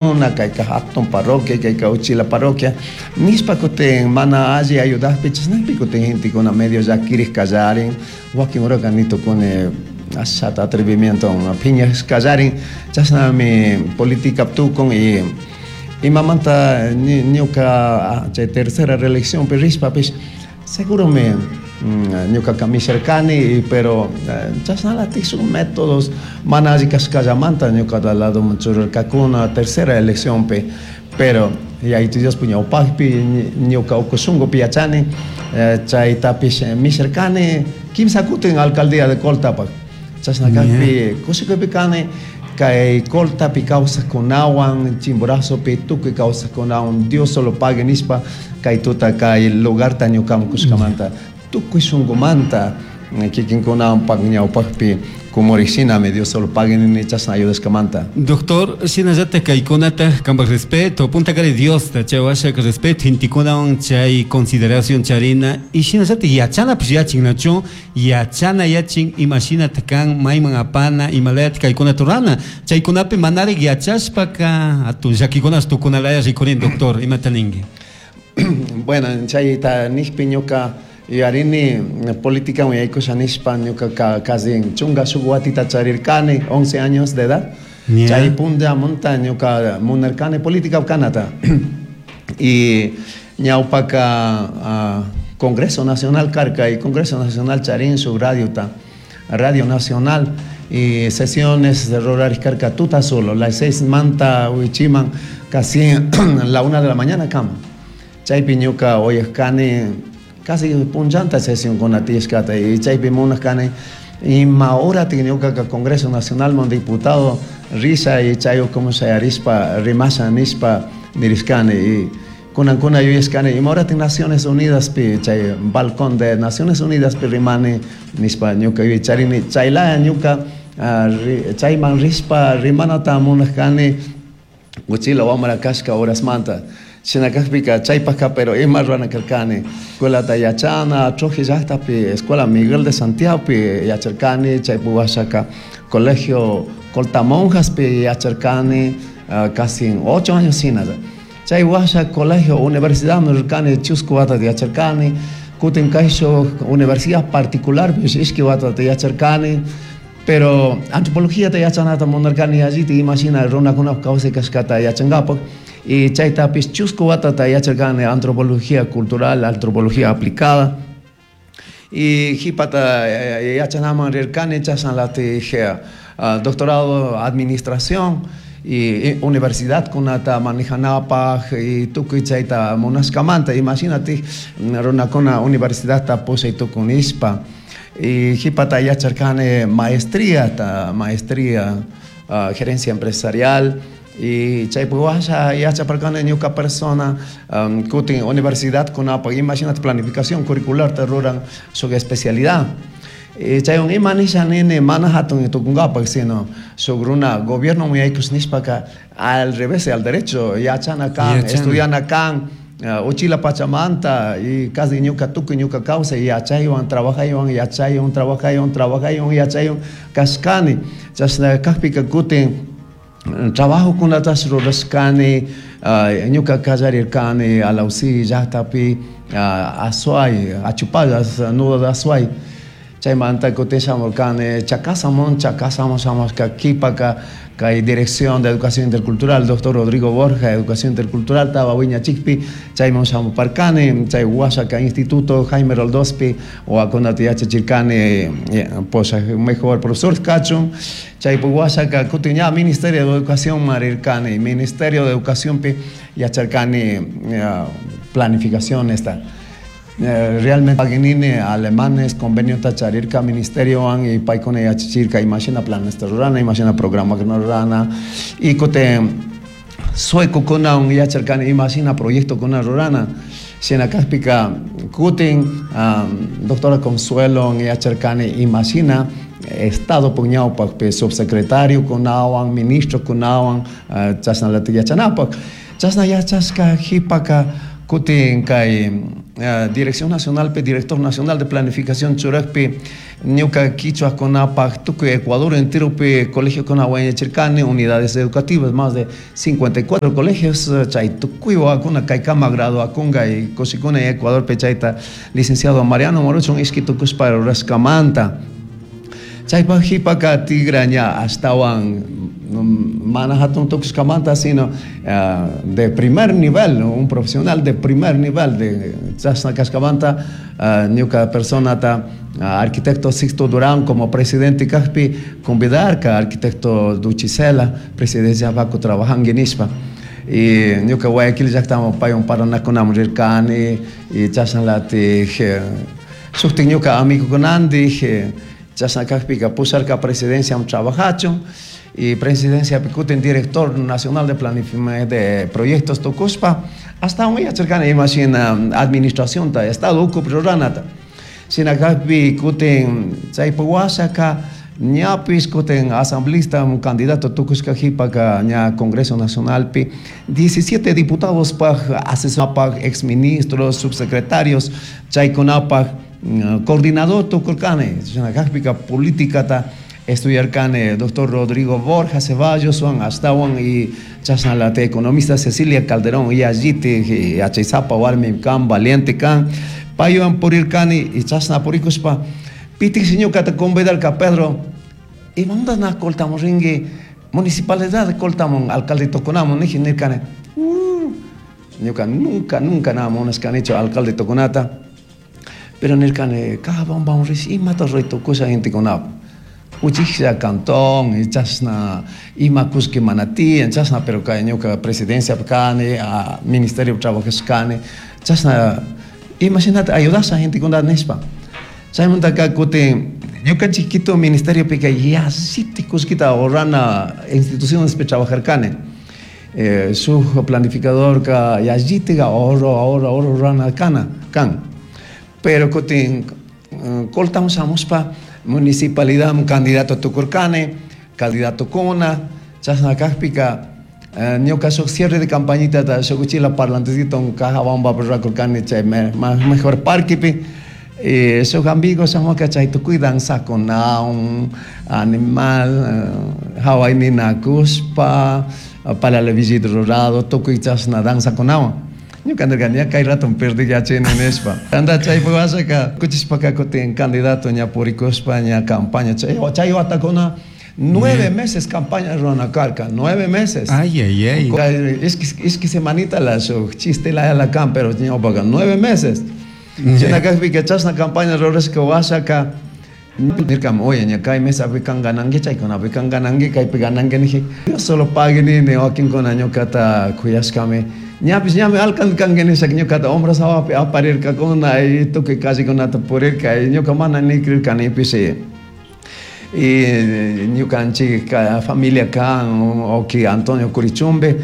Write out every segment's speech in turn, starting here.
Una kayka hatun parroquia, kayka uchila parroquia nishpa kutin mana alli ayudajpi chashnakpi kutin gentekuna medio llakirik kallarin, wakin horaka ni tukuni ashata atrevimientowan phiñash kallarin, chashnami política tukun y imamanta ñuka chay tercera reeleccionpi rishpapish seguromi ñukaka misharkani, pero chashnalatik shuk métodos mana alli kashkallamanta ñukata ladoman churarkakuna tercera eleccionpi, pero Yayitu Diospa ñawpakpi ñuka uku shunkupi yachani chaytapish misharkani kimsa kutin alcaldía de Coltapak, chashna kakpi kushikuypi kani kay Coltapi kawsakkunawan Chimborazopi tukuy kawsakkunawan Dios solo pague nishpa kay tuta kay lugarta ñukaman kushkamanta tukuy shunkumanta kikinkunapak ñawpakpi kumurik shinami Dios solo pague nini chashna ayudashkamanta. Doctor, shinallataj kaykunata kanpak respeto, puntakari Diosta chay washaka respeto gentekunawan chay consideración charina y shinallataj yachanapish yachin nachu yachana yachin imashinata kan mayman apana imalayata kaykunata rurana chaykunapi manarik yachashpaka atun llakikunash tukunalaya rikurin doctor imata ninki. Bueno, chayta nijpi ñuka yuyarini politicawan yaykusha nishpa ñukaka casi chunga shuk watita charirkani, 11 años de edad. Chay punllamunta ñuka munarkani política kanata. Y ñawpaka Congreso Nacional karka y Congreso Nacional charin shuk radiota, Radio Nacional, y sesiones de rurarik karka tuta solo, las 6 manta wichiman casi la 1 de la mañana kama. Chaypi ñuka oyajkani casi punllanta sesión kuna tiyashkata y chaypi munajkani ima horatik ñukaka Congreso Nacional man diputado risha y chay ukuman shayarishpa rimasha nishpa nirishkani y kunankuna yuyashkani ima horatik Naciones Unidaspi chay balcón de Naciones Unidaspi rimani nishpa ñuka yuyay charini chaylaya ñuka chayman rishpa rimanata munajkani uchila wamra kashka horasmanta. Shina kakpika chaypajka pero ima rurana karkani escuelata yachana Trujillo llaktapi Escuela Miguel de Santiagopi yacharkani, chaypi washaka Colegio Coltamonjaspi yacharkani casi 8 años shina. Chay washa colegio universidadman rirkani chusku watata yacharkani, kutin kayshuk universidad particularpish ishki watata yacharkani, pero antropologiata yachanata munarkani yallita imashina runakunapak kawsay kashkata yachankapak. Y chaytapish chusku watata yacharkani antropología cultural, antropología aplicada. Y jipata yachanaman rirkani chashnalatik doctorado administración y universidad kunata manejanapak y tukuy chayta munashkamanta. Imagínate runakuna universidadta pushay tukun nishpa. Y jipata yacharkani maestría, ta, maestría, gerencia empresarial. Y chaypi washa yachaparkani ñuka persona, kutin universidad kunapak, imagínate planificación curricular ta ruran shuk especialidad. Y chaywan ima nisha nini mana hatun tukunkapak, sino shuk runa gobierno yaykush nishpaka al revés, al derecho, yachana kan, estudiana kan, uchila pachamanta y casi ñuka tukuy ñuka kawsay yachaywan, trabajaywan, yachaywan, trabajaywan, trabajaywan, yachaywan kashkani. Chashna kakpika kutin trabajo kunatash rurashkani, ñuka kallarirkani Alausí llaktapi, Azuay, Achupallas, nudo de Azuay. Chaymanta kutin shamurkani Chacasamón, Chacasamón shamushka kipaka kay Dirección de Educación Intercultural, doctor Rodrigo Borja, Educación Intercultural, tawa wiñachikpi, chayman shamuparkani, chay washaka Instituto Jaime Roldospi, wakunata yachachirkani, posha mejor profesor kachun, chaypi washaka kutin ña Ministerio de Educación marirkani, Ministerio de Educación pi yacharkani, planificación esta. Realmente paginini alemanes convenio tacharirka ministerio an y paikuna yachachirka imashina planes rurana, imashina programa rurana y kote sueco kuna un yacharkani imashina proyecto kuna rurana. Shina kakpika kutin, doctora Consuelo yacharkani imashina estado puñawpak subsecretario kunawan, ministro kunawan, chashnalatik yachanapak. Chashna yachashka jipaka Kutin kay Dirección Nacionalpi Director Nacional de Planificación churakpi ñuka kichwakunapaj tukuy Ecuador enteropi colegiokuna wañachirkani, unidades educativas, más de 54 colegios, chay tukuy wawakuna kaykama graduakunka y kushikuna Ecuadorpi chayta licenciado Mariano Moruchun ishki tukushpa rurashkamanta. Chaypaj qhipaka tigra ña ashtawan mana hatun tukushkamanta, sino de primer nivel, un profesional de primer nivel de chashna kashkamanta ñuka personata arquitecto Sixto Durán como presidente kajpi convidarka arquitecto Duchicela presidencia baku trabajanki nishpa. Y ñuka Guayaquil llaktaman paywan parlanakunaman rirkani y chashnalatik shuktik ñuka amigokunandik chashna kajpika pusharka presidenciaman trabajachun y presidenciapi kutin director nacional de planificación de proyectos tukushpa ashtawan yacharkani imashina administracionta estado ukupi ruranata. Shina kajpi kutin chaypak washaka ñapish kutin asambleísta candidato tukushka qhipaka ña Congreso Nacionalpi 17 diputados paj asesorpaj exministros, subsecretarios chaykunapaj coordinador tukurkani. Shina kajpika políticata estudiarkani doctor Rodrigo Borja Ceballos ashtawan y chashnalata economista Cecilia Calderón y allitik yachaysapa warmi kan valiente kan paywan purirkani y chashna purikushpa pitikshi ñukata convidarka Pedro imamanta na Coltamun rinki municipalidad de Coltamun alcalde tukunamun niji nirkani. Ñuka nunca nunca na munashkanichu alcalde tukunata, pero nirkani Cajabamba rish imata ruray tukusha gentekunapuk uchiklla cantón y chashna ima kullki mana tiyan chashna, pero kay ñuka presidenciapi kani, ministerio trabajashkani chashna imashinata ayudasha gentekunata nishpa. Chaymantaka kutin ñukanchik Quito ministeriopika yallitik kullkita ahorrana institucionespi trabajarkani. Shuk planificadorka yallitik ahorro, ahorro, ahorro rurana kana kan. Pero kutin Coltamun shamushpa municipalidad candidato tukurkani, candidato kuna, chashna kajpika ñuka shuk cierre de campañitata shuk uchila parlantecito Cajabambapi rurakurkani chay mejor parquepi. Shuk amigos shamuka chay tukuy danzakunawan, animal, haway ninakushpa, palala villita rurado, tukuy chashna danzakunawan. Ñuka nirkani ña kay rato perdiyachini nishpa. Anda chaypak washaka kuchishpaka kutin candidato ña purikushpa ña campaña chay chay watakuna 9 meses campaña rurana karka, 9 meses. Ay, ay, ay. Ishki semanita la shuk chiste la la kan, pero ñawpaka 9 meses. Shina kajpika chashna campaña rurashka washaka nirkam, oye, ña kay mesapi kan gananki, chaykunapi kan gananki, kaypi gananki niji. Dios solo pague nini wakinkuna ñukata kuyashkami. Ñapish ñami alcalde kanki nishaka ñukata hombros hawapi aparirkakuna y tukuy callekunata purirka y ñuka mana ni creerkanipish. Y ñukanchik familia kan, oki Antonio Curichumbe,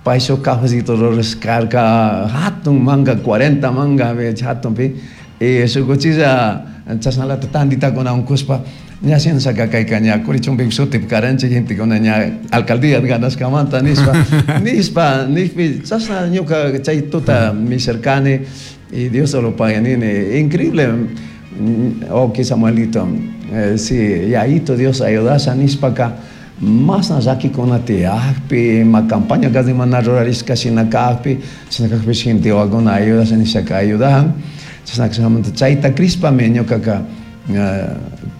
pay shuk cafecito rurashkarka, hatun manga, 40 manga, hatunpi. Y shuk uchilla chashnalata tanditakuna unkushpa, ña shinashaka kayka ña Curichumbe shutipi karanchik gentekuna ña alcaldía ganashkamanta nishpa, nishpa, nishpi, chashna ñuka chay tuta misharkani y Dios solo pague nini, increíble, oki Samuelito, sí, yayito Dios ayudasha nishpaka, masna llakikuna tiyakpi, ima campaña casi mana rurarishka shina kakpi, shina kakpi gente wawakuna ayudasha nishaka ayudajan, chashna kashamanta chayta crishpami ñukaka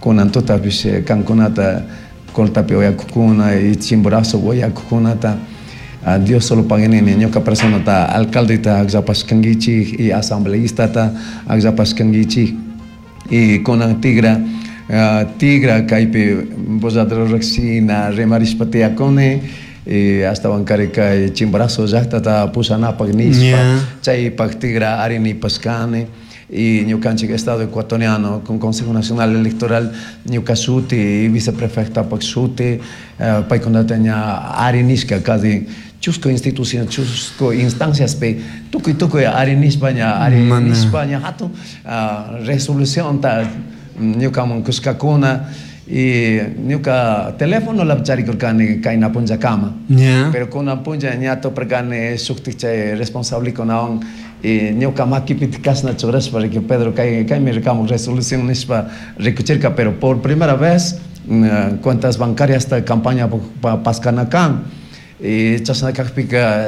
kunan tutapish kankunata Coltapi uyakukuna y Chimborazo uyakukunata, Dios solo pague nini ñuka personata alcaldeta akllapashkankichik y asambleístata akllapashkankichik y kunan tigra tigra kaypi bozadro riksina rimarishpa tiyakuni y ashtawan kari kay Chimborazo llaktata pushanapak nishpa chaypak tigra arinipashkani y ñukanchik Estado ecuatoriano con Consejo Nacional Electoral ñuka shuti y viceprefectapak shuti paykunata ña arinishka casi chusku institución, chusku instanciaspi tukuy tukuy arinishpa ña arinishpa ña hatun resolucionta ñukaman kushkakuna y ñuka teléfono la charikurkani kayna punllakama. Pero kunan punlla ña tuparkani shuktik chay responsable kunawan Y ñuka makipi kashna churashpa riki Pedro kay kaymi kambuk resolución nishpa rikuchirka. Pero por primera vez cuentas bancarias campaña paskana kan. Y chashna kakpika.